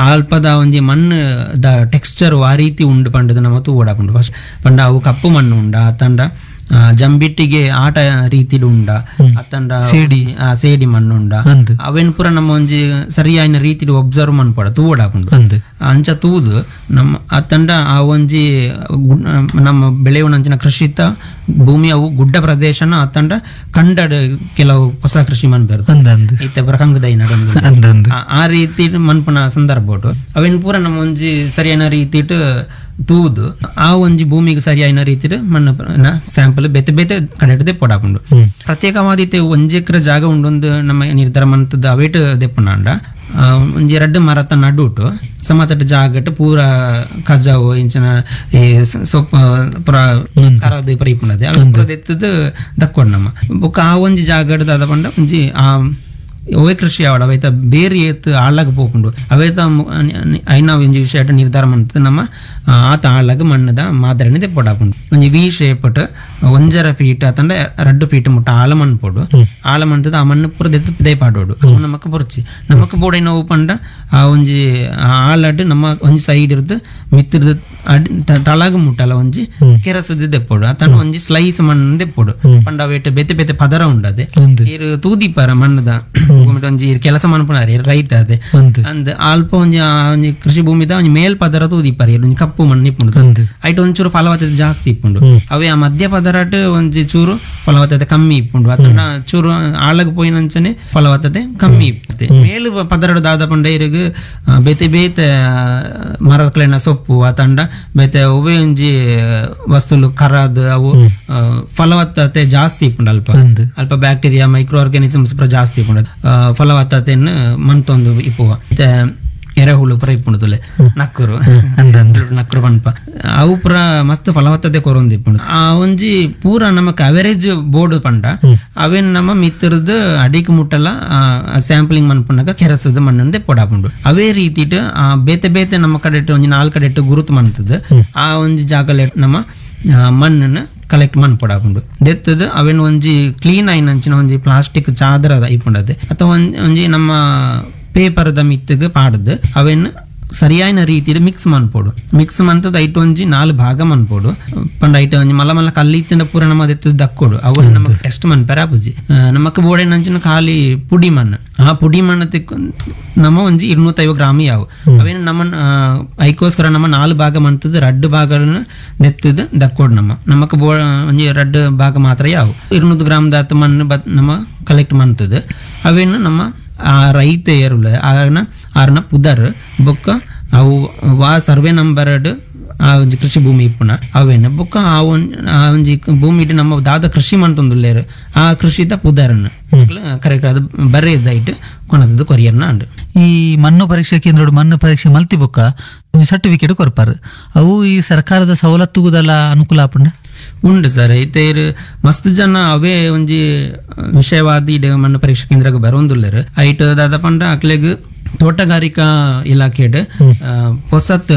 ಆಲ್ಪದ ಒಂಜಿ ಮಣ್ಣು the texture ಆ ರೀತಿ ಉಂಡು ಪಂಡದ ನಮ್ಮ ತೂವಡಾಪುಂಡು. ಫಸ್ಟ್ ಪಂಡ ಅವು ಕಪ್ಪು ಮಣ್ಣು ಉಂಡ ತಂಡ ಜಂಬಿಟ್ಟಿಗೆ ಆಟ ರೀತಿಡು ಉಂಡ ಅತ್ತಂಡ ಸೇಡಿ ಮಣ್ಣು ಉಂಡ ಅವೇನ್ ಪೂರ ನಮ್ಮ ಒಂಜಿ ಸರಿಯಾದ ರೀತಿಡು ಒಬ್ಸರ್ವ್ ಮನ್ಪೊಡ ತೂವಡಾಪುಂಡು. ಅಂಚ ತೂದು ನಮ್ಮ ಅತ್ತಂಡ ಆ ಒಂಜಿ ನಮ್ಮ ಬೆಳೆಯುವನಂಚಿನ ಕೃಷಿತ ಭೂಮಿ ಅವು ಗುಡ್ಡ ಪ್ರದೇಶನ ಅತ್ತಂಡ ಕಂಡಡ್ ಕೆಲವು ಹೊಸ ಕೃಷಿ ಮನ್ಪೆರ್ ಇತ್ತೆ ಪೂರ ಕಂಗುದೈ ನಡೊಂದು ಆ ರೀತಿ ಮನ್ಪುನ ಸಂದರ್ಭ ಉಂಟು. ಅವೆನ್ ಪೂರ ನಮ್ಮ ಒಂಜಿ ಸರಿಯಾದ ರೀತಿಟ್ ತೂದು ಆ ಒಂಜಿ ಭೂಮಿಗೆ ಸರಿಯಾದ ರೀತಿಡ್ ಮಣ್ಣು ಸ್ಯಾಂಪಲ್ ಬೇತೆ ಬೇತೆ ಕಡೆ ದೆಪ್ಪೊಡಾಪುಂಡು. ಪ್ರತ್ಯೇಕವಾದ ಇತ್ತೆ ಒಂಜಿ ಎಕರೆ ಜಾಗ ಉಂಡೊಂದು ನಮ್ಮ ನಿರ್ಧಾರ ಮಂತದ ಅವೇಟ್ ದೆಪ್ಪುನಾಂಡ ಒಂಜಿ ರಡ್ಡು ಮರತ ನಡುಟು ಸಮತಟ್ಟ ಜಾಗಟ್ ಪೂರ ಕಜಾವು ಇಂಚಿನ ಈ ಸೊಪ್ಪು ಪೂರ ಕರದು ಪೂರ ಇಪ್ಪುಂಡದೆ ಅವು ಪೂರ ದೆತ್ತದು ದಕ್ಕೊಡು ನಮ್ಮ. ಬೊಕ್ಕ ಆ ಒಂಜಿ ಜಾಗಡ್ ದಾದ ಪಂಡ ಒಂಜಿ ಆ ಒವೇ ಕೃಷಿ ಆವಡ ಅವೇತ ಬೇರೆ ಏತ್ ಆಳಾಗ ಪೋಪುಂಡು ಅವೇತ ಐನ ಒಂಜಿ ವಿಷಯ ನಿರ್ಧಾರ ಮಂತದ ನಮ್ಮ ಆತ ಆಳಾಗ ಮಣ್ಣದ ಮಾದರಿನ ದೆಪ್ಪೊಡಾಪುಂಡು. ಒಂಜಿ ವಿ ಶೇಪಟ್ 1.5 ಫೀಟ್ ಅತಂಡ 2 ಫೀಟ್ ಮುಟ್ಟ ಆಳ ಮಣ್ಣು ಪೋಡು ಆಳ ಮಣ್ಣದ ಆ ಮಣ್ಣು ಪೂರ ದೆತ್ತು ದೆಪಾಡೋಡು ಅವು ನಮಕ್ ಬೊರ್ಚಿ ನಮಕ್ ಬೋಡೈನ ಅವು ಪಂಡ ಆ ಒಂಜಿ ಆಳಡ್ ನಮ್ಮ ಒಂಜಿ ಸೈಡ್ ಇರ್ದು ಮಿತ್ತಿರ್ದು ತಳಗ ಮುಟ್ಟಲ ಒಂಜಿ ಕೆರಸದ ದೆಪ್ಪೋಡು ಅತಂಡ ಒಂಜಿ ಸ್ಲೈಸ್ ಮಣ್ಣು ದೆಪ್ಪೋಡು ಪಂಡ ಅವೇಟ್ ಬೇತೆ ಬೇತೆ ಪದರ ಉಂಡದೆ ಇರು ತೂದಿಪಾರ ಮಣ್ಣದ ಒಂಜಿ ಕೆಲಸ ಮನ್ಪುನಾರ ರೈತ ಅದೇ ಅಂದ್ ಅಲ್ಪ ಒಂಜಿ ಒಂಜಿ ಕೃಷಿ ಭೂಮಿದ ಒಂಜಿ ಮೇಲ್ ಪದರ ತೂದಿಪಾರ ಒಂಜಿ ಕಪ್ಪು ಮಣ್ಣು ಇಪ್ಪುಂಡು ಐಟ್ ಒಂಚೂರು ಫಲವತ್ತತೆ ಜಾಸ್ತಿ ಇಪ್ಪುಂಡು. ಅವೇ ಆ ಮಧ್ಯ ಪದರಾಟ್ ಒಂಜಿ ಚೂರು ಫಲವತ್ತತೆ ಕಮ್ಮಿ ಇಪ್ಪುಂಡು ಅತಂಡ ಚೂರು ಆಳಗ್ ಪೋಯಿನಂಚನೆ ಫಲವತ್ತತೆ ಕಮ್ಮಿ ಇಪ್ಪುತ್ತೆ. ಮೇಲು ಪದರಡು ದಾದ ಪಂಡ ಇರುಗ್ ಬೇತೆ ಬೇತೆ ಮರಕ್ಲೆನ ಸೊಪ್ಪು ಅತಂಡ ಬೇತೆ ಒವೇ ಒಂಜಿ ವಸ್ತುಲು ಕರಾದ್ ಅವು ಫಲವತ್ತತೆ ಜಾಸ್ತಿ ಇಪ್ಪುಂಡು. ಅಲ್ಪ ಅಲ್ಪ bacteria micro organisms ಪೂರ ಜಾಸ್ತಿ ಇಪ್ಪುಂಡು ಫಲವತ್ತತೆಯನ್ನು ಮನ್ತೊಂದು ಇಪ್ಪುವ. ಎರೆಹುಳು ಪೂರ ಇಪ್ಪುಂಡು ತುಲೆ ನಕ್ಕರು ನಕ್ಕರು ಪನ್ಪ ಅವು ಪೂರ ಮಸ್ತ್ ಫಲವತ್ತತೆ ಕೊರೊಂದು ಇಪ್ಪುಂಡು. ಆ ಒಂಜಿ ಪೂರ ನಮಕ್ ಅವರೇಜ್ ಬೋರ್ಡ್ ಪಂಡ ಅವೇನ್ ನಮ್ಮ ಮಿತ್ರದ್ ಅಡಿಕ್ ಮುಟ್ಟಲ ಸ್ಯಾಂಪ್ಲಿಂಗ್ ಮನ್ಪುನಗ ಕೆರಸದ ಮಣ್ಣು ದೆಪ್ಪೊಡಾಪುಂಡು. ಅವೇ ರೀತಿಟ್ ಆ ಬೇತೆ ಬೇತೆ ನಮ್ಮ ಕಡೆಟ್ ಒಂಜಿ 4 ಕಡೆಟ್ ಗುರುತು ಮನ್ತದ ಆ ಒಂಜಿ ಜಾಗಲೆ ನಮ್ಮ ಮಣ್ಣನ್ನು ಕಲೆಕ್ಟ್ ಮನ್ಪೊಡಾಪುಂಡು. ದೆತ್ತದ ಅವೇನ್ ಒಂಜಿ ಕ್ಲೀನ್ ಆಯಿನಂಚಿನ ಒಂಜಿ ಪ್ಲಾಸ್ಟಿಕ್ ಚಾದರ ಇಪ್ಪುಂಡದೆ ಅಥವಾ ಒಂಜಿ ನಮ್ಮ ಪೇಪರ್ದ ಮಿತ್ತಗ್ ಪಾಡ್ದು ಅವೇನ್ ಸರಿಯಾದ ರೀತಿಯಲ್ಲಿ ಮಿಕ್ಸ್ ಮನ್ಪೋಡು. ಮಿಕ್ಸ್ ಮಂತದ ಐಟ್ ಒಂಜಿ 4 ಭಾಗ ಮನ್ಪೋಡು ಪಂಡ ಐಟ್ ಒಂಜಿ ಮಲ್ಲ ಮಲ್ಲ ಕಲ್ಲಿತ್ತಿನ ಪೂರ ನಮ್ಮ ದೆತ್ತದ ದಕ್ಕೋಡು ಅವು ನಮಕ್ ಟೆಸ್ಟ್ ಮನ್ಪೆರ ಆಪುಜಿ. ನಮಕ್ ಬೋಡೆನಂಚಿನ ಖಾಲಿ ಪುಡಿ ಮಣ್ಣು ಆ ಪುಡಿ ಮಣ್ಣು ತಿಕ್ಕು ನಮ್ಮ ಒಂಜಿ 250 ಗ್ರಾಮ್ ಯಾವು ಅವೇನು ನಮ್ಮ ಐಕೋಸ್ಕರ ನಮ್ಮ 4 ಭಾಗ ಮಂತದ 2 ಭಾಗಗಳನ್ನು ನೆತ್ತದ ದಕ್ಕೋಡು ನಮ್ಮ ನಮಕ್ ಬೋ ಒಂಜಿ 2 ಭಾಗ ಮಾತ್ರ ಯಾವು 200 ಗ್ರಾಮ್ ದಾತ ಮಣ್ಣು ನಮ್ಮ ಕಲೆಕ್ಟ್ ಮಂತದ ಅವೇನು ನಮ್ಮ ಆ ರೈತ ಏರುಲ್ಲ ಆರ್ನ ಆರ್ನ ಪುದರ್ ಬೊಕ್ಕ ಅವು ವಾ ಸರ್ವೆ ನಂಬರ್ ಆ ಒಂಜಿ ಕೃಷಿ ಭೂಮಿ ಇಪ್ಪುನ ಅವೇನ ಬೊಕ್ಕ ಆ ಒಂಜಿ ಭೂಮಿ ನಮ್ಮ ದಾದ ಕೃಷಿ ಮಂತೊಂದುಲ್ಲೇರು ಆ ಕೃಷಿದ ಪುದರ್ನ ಕರೆಕ್ಟ್ ಅದು ಬರೆಯದಾಯ್ತು ಕೊನದದ್ದು ಕೊರಿಯರ್ನ ಅಂಡು. ಈ ಮಣ್ಣು ಪರೀಕ್ಷೆ ಕೇಂದ್ರ ಮಣ್ಣು ಪರೀಕ್ಷೆ ಮಲ್ತಿ ಬೊಕ್ಕ ಸರ್ಟಿಫಿಕೇಟ್ ಕೊರ್ಪಾರು ಅವು ಈ ಸರ್ಕಾರದ ಸವಲತ್ತುಗುದಲ್ಲ ಅನುಕೂಲ ಆಪುಂಡ ಉಂಡು ಸರ್. ಇತ್ತೆ ಮಸ್ತ್ ಜನ ಅವೇ ಒಂಜಿ ವಿಷಯವಾದ ಇಡೆ ಮಣ್ಣು ಪರೀಕ್ಷಾ ಕೇಂದ್ರಕ್ಕೆ ಬರೋಂದುಲ್ಲೇರು ಐಟ್ ದಾದ ಪಂಡ ಅಕ್ಲೆಗ್ ತೋಟಗಾರಿಕಾ ಇಲಾಖೆಡ್ ಹೊಸತ್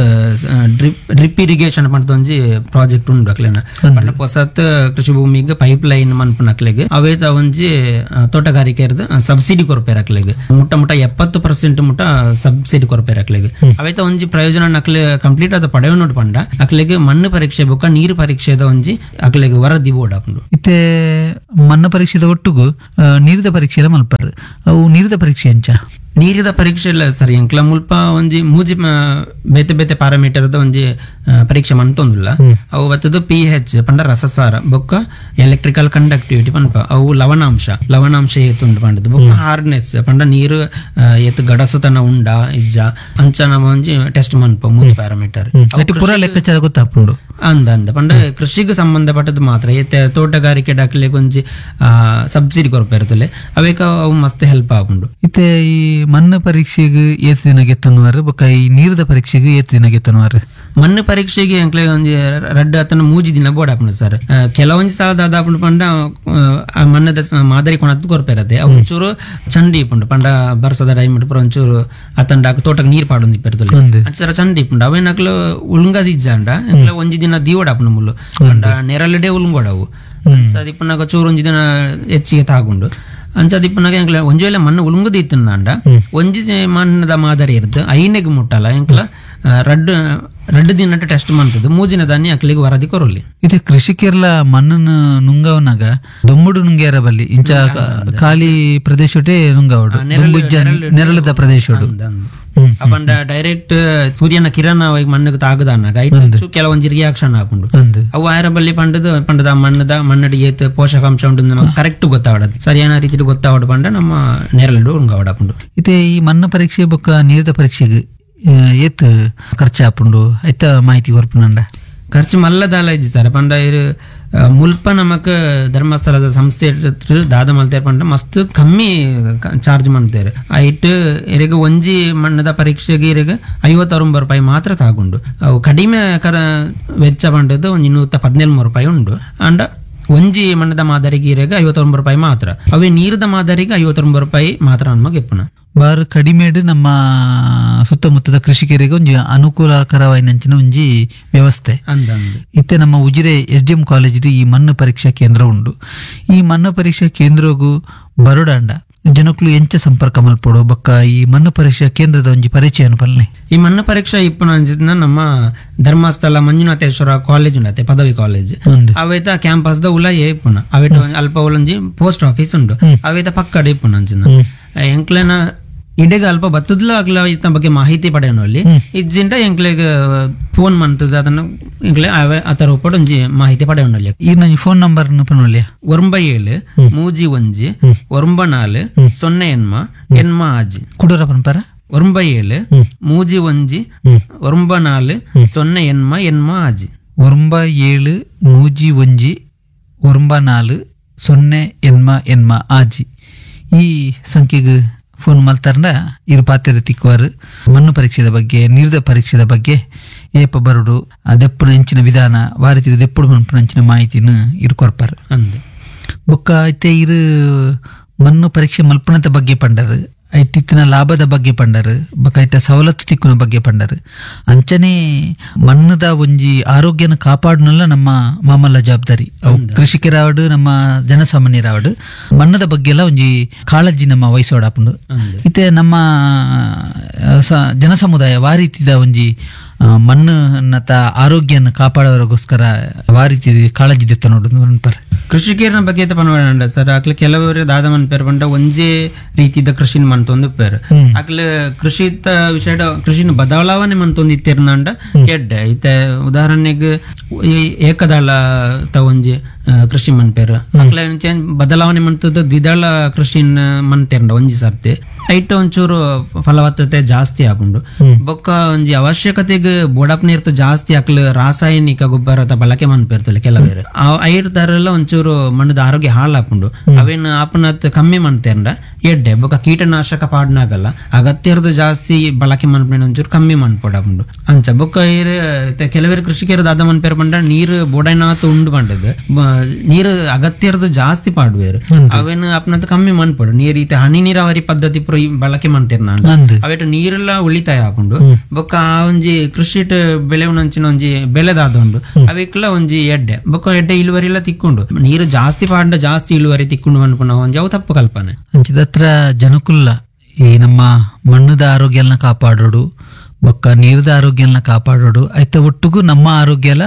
ಡ್ರಿಪ್ ಇರಿಗೇಷನ್ ಪಂಡ ಒಂಜಿ ಪ್ರಾಜೆಕ್ಟ್ ಉಂಡು ಅಕ್ಲೆನ ಪಂಡ ಹೊಸತ್ ಕೃಷಿ ಭೂಮಿಗೆ ಪೈಪ್ ಲೈನ್ ಮನ್ಪುನ ಅಕ್ಲೆಗ್ ಅವೇತ ಒಂಜಿ ತೋಟಗಾರಿಕೆ ಸಬ್ಸಿಡಿ ಕೊರ್ಪೇರ್ ಅಕ್ಲೆಗ್ ಮುಟ್ಟ ಮುಟ್ಟ 70% ಮುಟ್ಟ ಸಬ್ಸಿಡಿ ಕೊರ್ಪೇರ್ ಅಕ್ಲೆಗ್ ಅವೇತ ಒಂಜಿ ಪ್ರಯೋಜನ ಅಕ್ಲೆ ಕಂಪ್ಲೀಟ್ ಆದ ಪಡೆಯೋನು ಪಂಡ ಅಕ್ಲೆಗ್ ಮಣ್ಣು ಪರೀಕ್ಷೆ ಬೊಕ್ಕ ನೀರು ಪರೀಕ್ಷೆದ ಒಂಜಿ ಅಕ್ಲೆಗ್ ವರದಿ ಬೋರ್ಡ್ ಆಪುಂಡು. ಇತ್ತೆ ಮಣ್ಣು ಪರೀಕ್ಷೆದ ಒಟ್ಟುಗು ನೀರಿದ ಪರೀಕ್ಷೆ ಮಲ್ಪಾರು ಅವು ನೀರಿದ ಪರೀಕ್ಷೆ ಎಂಚ ನೀರಿದ ಪರೀಕ್ಷೆ ಇಲ್ಲ ಸರ್. ಎಂಕ್ಲ ಮುಲ್ಪ ಒಂಜಿ ಮೂಜಿ ಬೇತೆ ಬೇತೆ ಪ್ಯಾರಾಮೀಟರ್ದ ಒಂಜಿ ಪರೀಕ್ಷೆ ಮಂತೊಂದುಲ್ಲ ಅವು ಬತ್ತದು ಪಿ ಹೆಚ್ ಪಂಡ ರಸಸಾರ ಬೊಕ್ಕ ಎಲೆಕ್ಟ್ರಿಕಲ್ ಕಂಡಕ್ಟಿವಿಟಿ ಪನ್ಪ ಅವು ಲವಣಾಂಶ ಲವಣಾಂಶ ಏತುಂಡು ಪಂಡದು ಬೊಕ್ಕ ಹಾರ್ಡ್ನೆಸ್ ಪಂಡ ನೀರು ಏತು ಗಡಸುತನ ಉಂಡ ಇಜ್ಜ ಅಂಚ ನಮ್ಮ ಒಂಜಿ ಟೆಸ್ಟ್ ಮನ್ಪ ಮೂಜಿ ಪ್ಯಾರಾಮೀಟರ್ ಪೂರ ಲೆಕ್ಕಾಚಾರ ಗೊತ್ತಾಪುಂಡು ಅಂದ ಅಂದ ಪಂಡ ಕೃಷಿಗೆ ಸಂಬಂಧಪಟ್ಟದ್ದು ಮಾತ್ರ ಏತೆ ತೋಟಗಾರಿಕೆ ಡಾಕ್ಲೆ ಒಂಜಿ ಸಬ್ಸಿಡಿ ಕೊರಪೆ ಅವೇಕ ಅವು ಮಸ್ತ್ ಹೆಲ್ಪ್ ಆಪುಂಡು. ಇತ್ತೆ ಈ ಮಣ್ಣು ಪರೀಕ್ಷೆಗೆ ಏತ್ ದಿನ ಗೆತ್ತನುವಾರು ಬೊಕ್ಕ ಈ ನೀರದ ಪರೀಕ್ಷೆಗೆ ಏತ್ ದಿನ ಗೆತ್ತನುವಾರು? ಮಣ್ಣು ಪರೀಕ್ಷೆಗೆ ಅಂಕ್ಲೆ ಒಂಜಿ ರಡ್ಡು ಅತನ 3 ದಿನ ಬೋರ್ಡ್ ಆಪುಂಡು ಸರ್. ಕೆಲವೊಂಜಿ ಸಲ ದಾದಾಪುಂಡು ಪಂಡ ಆ ಮಣ್ಣದ ಮಾದರಿ ಕೊಣತ್ತು ಕೊರಪೆರತೆ ಅವು ಒಂಚೂರು ಚಂಡಿ ಇಪ್ಪುಂಡು ಪಂಡ ಬರ್ಸದ ಟೈಮ್ ಪೂರ ಒಂಚೂರು ಅತಂಡ ತೋಟಕ್ಕೆ ನೀರು ಪಾಡೊಂದು ಇಪ್ಪಿರ್ತದೆ ಅಂಚರ ಚಂಡಿ ಇಪ್ಪುಂಡು ಅವೇನಕ್ಲು ಉಳುಂಗದಿಜ್ಜಾಂಡ ಅಂಕ್ಲೆ ಒಂಜಿ ದಿನ ದೀವಡಾಪುಂಡು ಮುಲ್ಲು ಪಂಡ ನೆರಳಿಡೆ ಉಳುಂಗೋಡವು ಅದಿಪ್ಪುನಾಗ ಚೂರು ಒಂಜಿ ದಿನ ಹೆಚ್ಚಿಗೆ ತಾಗುಂಡು ಅಂಚದಿಪ್ಪುನಾಗ ಎಂಕ್ಲ ಒಂಜಿ ವೇಳೆ ಮಣ್ಣು ಉಳುಂಗುದು ಇತ್ತಂಡ ಒಂಜಿ ಮಣ್ಣದ ಮಾದರಿ ಇರ್ತದೆ ಐನೆಗ್ ಮುಟ್ಟಲ್ಲ ಎಂಕ್ಲ ರಡ್ಡು ರಡ್ಡು ದಿನ ಟೆಸ್ಟ್ ಮಾಡ್ತದೆ ಮೂಜಿನ ದಾನಿ ಅಕ್ಲಿಗೆ ವರದಿ ಕೊರಲಿ. ಇದು ಕೃಷಿಕರ್ಲ ಮಣ್ಣನ್ನು ನುಂಗವನಾಗ ದೊಮ್ಮುಡು ನುಂಗ್ಯಾರ ಬಲ್ಲಿ ಇಂಚ ಖಾಲಿ ಪ್ರದೇಶಟೇ ನುಂಗವಡು ನೆರಳದ ಪ್ರದೇಶಡು. ಅಪಂಡ ಡೈರೆಕ್ಟ್ ಸೂರ್ಯನ ಕಿರಣ ಮಣ್ಣುಗೆ ತಾಗದಾನಾಗ ಐಟ್ ಕೆಲವೊಂಜಿ ರಿಯಾಕ್ಷನ್ ಆಪುಂಡು. ಅವು ಆಯರ ಬಲ್ಲಿ ಪಂಡದ ಪಂಡದ ಮಣ್ಣದ ಮಣ್ಣಡಿ ಏತ್ ಪೋಷಕಾಂಶ ಉಂಡು ನಮಗೆ ಕರೆಕ್ಟ್ ಗೊತ್ತಾವಡದು, ಸರಿಯಾದ ರೀತಿಯಲ್ಲಿ ಗೊತ್ತಾವಡ ಪಂಡ ನಮ್ಮ ನೇರಳು ಉಂಗಾವಡಪುಂಡು. ಇತ್ತೆ ಈ ಮಣ್ಣು ಪರೀಕ್ಷೆ ಬೊಕ್ಕ ನೀರಿದ ಪರೀಕ್ಷೆಗೆ ಏತ್ ಖರ್ಚು ಆಪುಂಡು ಐತ ಮಾಹಿತಿ ಕೊರ್ಪುನಂಡ? ಖರ್ಚು ಮಲ್ಲದಾಲ ಇಜ್ಜಿ ಸರ್. ಪಂಡ ಇರು ಮುಲ್ಪ ನಮಕ್ ಧರ್ಮಸ್ಥಳದ ಸಂಸ್ಥೆ ದಾದ ಮಲ್ತೇರ್ ಪಂಡ ಮಸ್ತ್ ಕಮ್ಮಿ ಚಾರ್ಜ್ ಮಾಡ್ತೇವೆ. ಐಟ್ ಇರಿಗೆ ಒಂಜಿ ಮಣ್ಣದ ಪರೀಕ್ಷೆಗೆ ಇರಿಗೆ 59 ರೂಪಾಯಿ ಮಾತ್ರ ತಾಗುಂಡು. ಅವು ಕಡಿಮೆ ಕರ ವೆಚ್ಚ ಪಂಡದ್ದು ಒಂಜಿ 113 ರೂಪಾಯಿ ಉಂಡು. ಅಂಡ ಒಂಜಿ ಮಣ್ಣದ ಮಾದರಿಗೆ ಇರೆಗೆ 59 ರೂಪಾಯಿ ಮಾತ್ರ, ಅವೇ ನೀರದ ಮಾದರಿಗೆ 59 ರೂಪಾಯಿ ಮಾತ್ರ ನಮಗೆ ಇಪ್ಪುನ. ಬಾರು ಕಡಿಮೆಡು ನಮ್ಮ ಸುತ್ತಮುತ್ತದ ಕೃಷಿಕರಿಗೆ ಒಂಜಿ ಅನುಕೂಲಕರವಾಯಿನಂಚಿನ ಒಂಜಿ ವ್ಯವಸ್ಥೆ. ಇತ್ತೆ ನಮ್ಮ ಉಜಿರೆ SDM college ಈ ಮಣ್ಣು ಪರೀಕ್ಷಾ ಕೇಂದ್ರ ಉಂಡು. ಈ ಮಣ್ಣು ಪರೀಕ್ಷಾ ಕೇಂದ್ರಗೂ ಬರೋಡಾಂಡ ಜನಕ್ಕಳು ಎಂಚ ಸಂಪರ್ಕ ಮಲ್ಪೋಡು ಬೊಕ್ಕ ಈ ಮಣ್ಣು ಪರೀಕ್ಷಾ ಕೇಂದ್ರದ ಒಂಜಿ ಪರಿಚಯ ಪಲ್ನೆ? ಈ ಮಣ್ಣು ಪರೀಕ್ಷಾ ಇಪ್ಪುನ ಅಂಚಿನ ನಮ್ಮ ಧರ್ಮಸ್ಥಳ ಮಂಜುನಾಥೇಶ್ವರ ಕಾಲೇಜ್ ಉಂಡತೆ, ಪದವಿ ಕಾಲೇಜ್ ಅವೇತ ಕ್ಯಾಂಪಸ್ ದ ಉಲಯೇ ಇಪ್ಪುನ. ಅವೇಟ ಅಲ್ಪ ಉಲಂಜಿ ಪೋಸ್ಟ್ ಆಫೀಸ್ ಉಂಡು, ಅವೇತ ಪಕ್ಕಡೆ ಇಪ್ಪುನ ಅಂಚಿನ. ಎಂಕ್ಲೆನ ಇಡೆಗ ಅಲ್ಪ ಬತ್ತದ್ಲ ಅಗ್ಲ ಇತ್ತ ಬಗ್ಗೆ ಮಾಹಿತಿ ಪಡೆಯೋನಲ್ಲಿ ಇಜ್ಜಿಂಟ ಎಂಕ್ಲೆಗ್ ಫೋನ್ ಮಂತದ ಅದನ್ನು ಎಂಕ್ಲೆ ಆತರ ಒಪ್ಪಡು ಒಂಜಿ ಮಾಹಿತಿ ಪಡೆಯೋನಲ್ಲಿ. ಈ ನಂಜಿ ಫೋನ್ ನಂಬರ್ ಪನೊಲಿಯ? 97 31 94 0 ಎನ್ಮ ಎನ್ಮ ಆಜಿ. ಕುಡೂರ ಪನ್ಪರ? 97 31 94 0 ಎನ್ಮ ಎನ್ಮ ಆಜಿ. 97 31 94 0 ಎನ್ಮ ಎನ್ಮ ಆಜಿ ಈ ಸಂಖ್ಯೆಗೆ ಫೋನ್ ಮಲ್ತಾರ್ನ ಇರು ಪಾತ್ರೆ ತಿಕ್ಕುವಾರು. ಮಣ್ಣು ಪರೀಕ್ಷೆದ ಬಗ್ಗೆ, ನೀರ್ದ ಪರೀಕ್ಷೆದ ಬಗ್ಗೆ, ಏಪ ಬರುಡು, ದೆಪ್ಪುನ ಹೆಂಚಿನ ವಿಧಾನ, ವಾರಿತಿರ ದೆಪ್ಪುಡು ಮನ್ಪುನ ಅಂಚಿನ ಮಾಹಿತಿನ ಇರು ಕೊರ್ಪಾರು. ಬೊಕ್ಕ ಐತೆ ಇರು ಮಣ್ಣು ಪರೀಕ್ಷೆ ಮಲ್ಪುನದ ಬಗ್ಗೆ ಪಂಡರು, ಐಟಿತ್ತಿನ ಲಾಭದ ಬಗ್ಗೆ ಪಂಡರು, ಬೊಕ್ಕ ಐತ ಸವಲತ್ತು ತಿಕ್ಕುನ ಬಗ್ಗೆ ಪಂಡರು. ಅಂಚನೆ ಮಣ್ಣದ ಒಂಜಿ ಆರೋಗ್ಯನ ಕಾಪಾಡನಲ್ಲ ನಮ್ಮ ಮಾಮಲ್ಲ ಜವಾಬ್ದಾರಿ. ಅವು ಕೃಷಿಕರಾವಡು ನಮ್ಮ ಜನಸಾಮಾನ್ಯರಾವಡು ಮಣ್ಣದ ಬಗ್ಗೆ ಎಲ್ಲ ಒಂಜಿ ಕಾಳಜಿ ನಮ್ಮ ವಹಿಸೋಡಾಪುಂಡು. ಇತ್ತೆ ನಮ್ಮ ಜನಸಮುದಾಯ ವಾರೀತಿದ ಒಂಜಿ ಮಣ್ಣನ್ನತ ಆರೋಗ್ಯನ ಕಾಪಾಡೋರಿಗೋಸ್ಕರ ವಾರೀತಿ ಕಾಳಜಿ ದೆತ್ತ ನೋಡು ಅನ್ಪಾರೆ. ಕೃಷಿಕರನ ಬಗ್ಗೆ ಪನ್ವಾಡ ಸರ್, ಅಕ್ಲೆ ಕೆಲವರು ದಾದ ಮನ್ಪೇರ್ ಪಂಡ ಒಂಜೇ ರೀತಿದ ಕೃಷಿನ ಮಂತೊಂದು ಪೇರ್. ಅಕ್ಲೆ ಕೃಷಿತ ವಿಷಯ ಕೃಷಿನ ಬದಲಾವಣೆ ಮಂತೊಂದು ಇತ್ತಿರ್ನಂಡ ಎಡ್ಡೆ. ಇತ್ತೆ ಉದಾಹರಣೆಗೆ ಈ ಏಕದಳ ಒಂಜಿ ಕೃಷಿ ಮನ್ಪೇರ್, ಅಕ್ಲೆ ಬದಲಾವಣೆ ಮಂತದ ದ್ವಿದಳ ಕೃಷಿನ ಮಂತೇರ್ಂಡ ಒಂಜಿ ಸರ್ತಿ ಐಟ್ ಒಂಚೂರು ಫಲವತ್ತತೆ ಜಾಸ್ತಿ ಆಪುಂಡು. ಬೊಕ್ಕ ಒಂಜಿ ಅವಶ್ಯಕತೆಗೆ ಬೋಡಪ್ ನೀರ್ತ ಜಾಸ್ತಿ ಅಕ್ಲು ರಾಸಾಯನಿಕ ಗೊಬ್ಬರ ಬಳಕೆ ಮನ್ಪೇರ್ತಲ್ಲ ಕೆಲವೇರು, ಐರ್ ತರಲ್ಲ ಒಂಚೂರು ಮಣ್ಣದ ಆರೋಗ್ಯ ಹಾಳಾಪುಂಡು. ಅವೇನು ಆಪನತ್ ಕಮ್ಮಿ ಮನ್ತೇರ್ಂಡ ಎಡ್ಡೆ. ಬೊಕ್ಕ ಕೀಟನಾಶಕ ಪಾಡ್ನಾಗಲ್ಲ ಅಗತ್ಯರ್ದು ಜಾಸ್ತಿ ಬಳಕೆ ಮನ್ಪೇನ ಒಂಚೂರು ಕಮ್ಮಿ ಮನ್ಪೋಡಾಪುಂಡು ಅಂಚ. ಬೊಕ್ಕ ಕೆಲವೇರು ಕೃಷಿಕರು ದಾದ ಮನ್ಪೇರ್ ಪಂಡ ನೀರು ಬೋಡೈನಾತ್ ಉಂಡು ಪಂಡದು ನೀರು ಅಗತ್ಯರ್ದು ಜಾಸ್ತಿ ಪಾಡುವೇರು, ಅವೇನು ಆಪನತ್ ಕಮ್ಮಿ ಮನ್ಪೋಡು. ನೀರು ಈತ ಹನಿ ನೀರಾವರಿ ಪದ್ಧತಿ ಬಳಕೆ ಮಾಡ್ತಿರ್ನ ಅವೇಟ ನೀರೆಲ್ಲ ಉಳಿತಾಯ ಹಾಕೊಂಡು. ಬೊಕ್ಕ ಆ ಒಂಜಿ ಕೃಷಿಟ್ ಬೆಳೆವನಂಚಿನ ಒಂಜಿ ಬೆಳೆದಾದ ಉಂಡು ಅವೆಕ್ಲ ಒಂಜಿ ಎಡ್ಡೆ. ಬೊಕ್ಕ ಎಡ್ಡೆ ಇಳುವರಿ ಎಲ್ಲ ತಿಕ್ಕೊಂಡು ನೀರು ಜಾಸ್ತಿ ಪಾಂಡ ಜಾಸ್ತಿ ಇಳುವರಿ ತಿಕ್ಕೊಂಡು ಅನ್ಕೊಂಡ ಒಂಜಿ ಅವು ತಪ್ಪು ಕಲ್ಪನೆ. ಅಂಚಿದತ್ರ ಜನಕುಲ್ಲ ಈ ನಮ್ಮ ಮಣ್ಣದ ಆರೋಗ್ಯನ ಕಾಪಾಡೋಡು, ಬೊಕ್ಕ ನೀರದ ಆರೋಗ್ಯನ ಕಾಪಾಡೋಡು, ಐತ ಒಟ್ಟುಗೂ ನಮ್ಮ ಆರೋಗ್ಯ ಎಲ್ಲ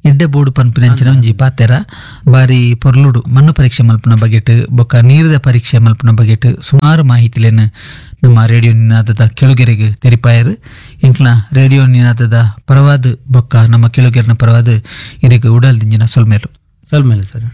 ಎಡ್ಡೆ ಬೋಡು ಪನ್ಪಿನಂಚಿನ ಒಂಜಿ ಪಾತೆರ ಬಾರಿ ಪೊರ್ಲುಡು. ಮಣ್ಣು ಪರೀಕ್ಷೆ ಮಲ್ಪುನ ಬಗೆಟ್ ಬೊಕ್ಕ ನೀರದ ಪರೀಕ್ಷೆ ಮಲ್ಪುನ ಬಗೆಟ್ ಸುಮಾರು ಮಾಹಿತಿಲೇನು ನಮ್ಮ ರೇಡಿಯೋ ನಿನಾದದ ಕೆಳುಗೆರೆಗೆ ತೆರಿಪಾಯರು. ಎಂಕ್ಲ ರೇಡಿಯೋ ನಿನಾದದ ಪರವಾದ ಬೊಕ್ಕ ನಮ್ಮ ಕೆಳುಗೆರೆನ ಪರವಾದ ಇರೆಗ್ ಉಡಲ್ ದಿಂಜಿನ ಸೊಲ್ಮೇಲು. ಸೊಲ್ಮೇಲು ಸರ್.